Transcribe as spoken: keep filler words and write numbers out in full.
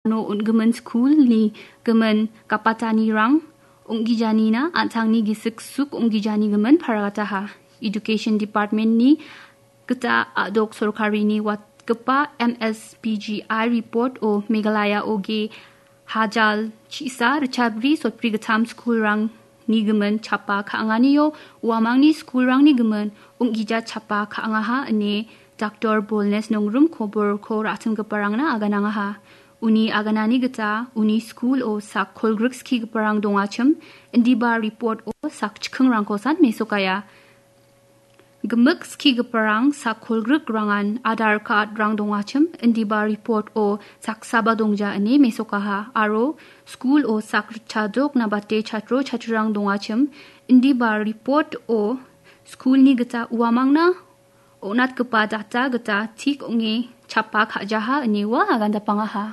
uno on·gimin skulni gimin gapatanirang ong·gijanina an·tangni gisik suk ong·gijani gimin paragataha. Education Department-ni gita a·dok sorkarini watgipa M S P G I report-o Meghalaya-o ge hajal chisa ritchabri sotbri gittam skulrangni gimin chapa ka·anganio uamangni skulrangni gimin ong·gija chapa ka·angaha ine Doctor Bolnes Nongrum koborko ra·simgiparangna aganangaha. Uni aganani gita uni skulo sak kolgrik skigiparang dongachim, indiba report-o sak chikingrangkosan mesokaia. Gimik skigiparang sak kolgrik rangan Aadhaar card-rang dongachim, indiba report-o saksaba dongja ine mesokaha. Aro skulo sak ritchajok nabate chatro chatrurang dongachim, indiba report-o skulni gita uamangna on·atgipa data gita tik ong·e chapa ka·jaha ine ua agandapangaha.